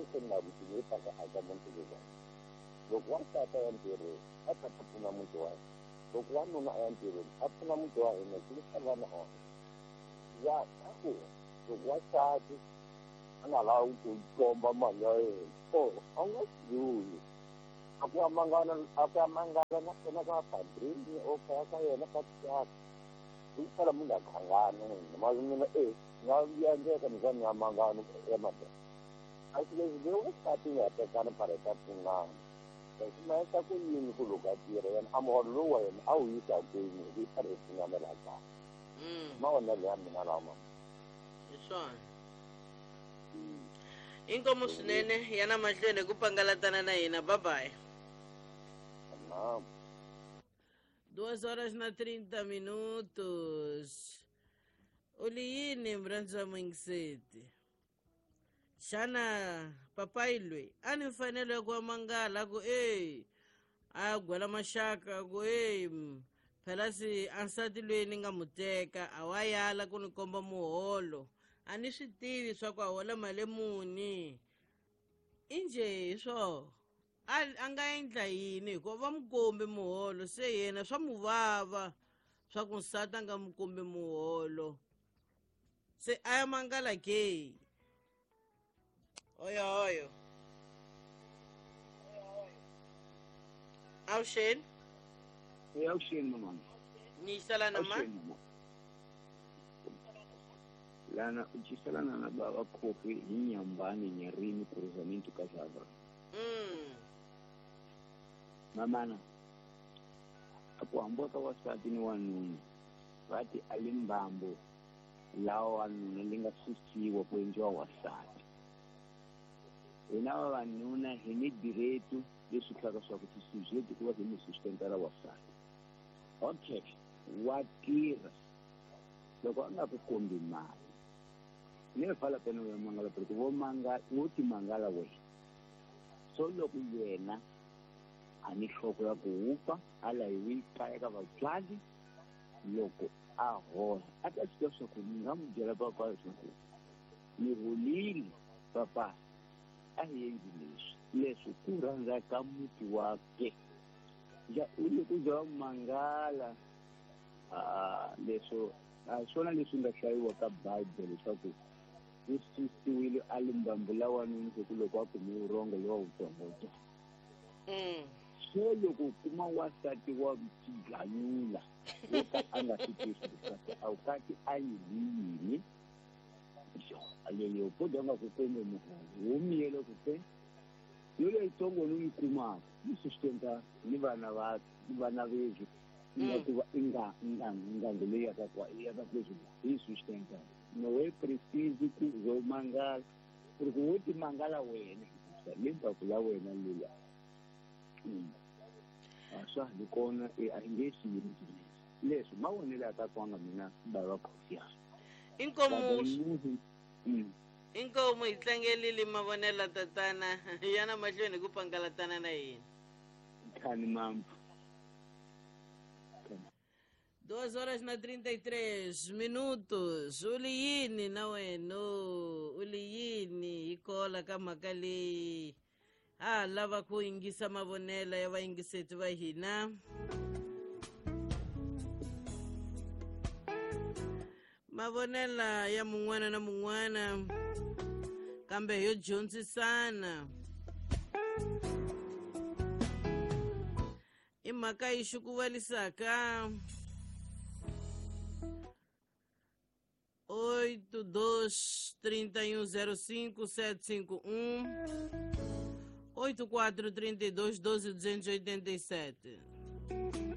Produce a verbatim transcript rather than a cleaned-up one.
avuxeni na vutivi ta ka aka muti lowu. Loko wansati a ya ntirhweni a ta ta pfuna muti wa yena. Loko wanuna a ya ntirhweni a pfuna muti wa yena ku yisa vana ehansi. Ya a ku loko wansati a nga lavi ku komba mali ya yena o a nga swi a ku ya mangana a ku ya mangala na kona ka padrini o kaya ka yena ka tiyaka hi ku sala munhu a khangana n'wina ma mina e nga endleka ni za ni ya mangana ya madoda a swi leswi leyi wansati nga tekana phara ta pfunana leswi ma endla ku yini ku loko a tirha yena a muholo lowu wa yena a wu yisa kwini hi ku yi karhi yi pfunana laha kaya mavonelo ya mina lawa mama. Hi swona inkomu swinene yana mahlweni hi ku pangalatana na hina. Bye bye. Duas horas na trinta minutos. U li yini murhandzi wa muyingiseti? Xana papayi loyi a ni mfanelo ya ku wa mangala a ku e a ya gwela maxaka a ku e phela se a nsati loyi ni nga mu teka a wa yala ku ni komba muholo a ni swi tivi swa ku a hola mali muni i njhe hi swoho a a nga endla yini hikuva va mu kombi muholo se yena swa mu vava swa ku nsati a nga mu kombi muholo se a ya mangala ke. Oyo oyo avuxeni. Avuxeni mama. Ni yiselana ma lana u ciselana na bava khofi hi nyambani nyarini cruzamento casava. Mm. Mamana a ku hambiwa ka wansati ni wanuna va ti a li mbambo lawa wanuna li nga susiwa ku endliwa wansati. Hina vavanuna hi ni direto leswi tlhaka swa ku tisujeti ku va hi ni sustentela wansati. Okay, wa tirha loko a nga ku kombi mali ni fala pena ya mangala porque vo manga wo ti mangala wena. So loko yena a ni nhloko ya ku wupa a layiwi kaya ka vatswari loko a hola a ta swi tiva swa ku ni nga n'wi byela papa leswaku ni holile papa a hi endli leswi leswi ku rhandza ka muti wa ke ja u le ku za mangala a leswo a swona leswi nga hlayiwa ka Bible leswaku u susiwile a limbambu la wanuna ku loko a kume vurhongo lowa wutsongotsongo. So loko u kuma wansati wa xiganyula wo ka a nga swi tivi leswaku a wu kati a yini yini leyo po nga ku kombe muholo wo miyele ku te yo leyitsongo ni yi kumaka yi sustenta ni vana va ni vana vezwi nga ku va nga nga nga leyi ya ka kwa ya ka kwezwi yi sustenta no we precise ku zo mangala ku ku wo ti mangala wena limbaku la wena lula a swa ni kona e a nge swi yini leswi mavonelo ya ka kwanga mina bava khofi ya inkomu. Inkomu hi tlangelile mavonelo tatana yana mahlweni ku pangalatana na hina. Khani mama. Duas horas na trinta e três minutos. U li yini na wena? U li yini hi kola ka mhaka leyi? A lava ku yingisa mavonelo ya vayingiseti va hina. Mavonela ya mun'wana na mun'wana kambe yo dyondzisana i mhaka yi xukuvalisaka. Oito dois trinta e um zero cinco sete cinco um oito quatro trinta e dois doze duzentos e oitenta e sete.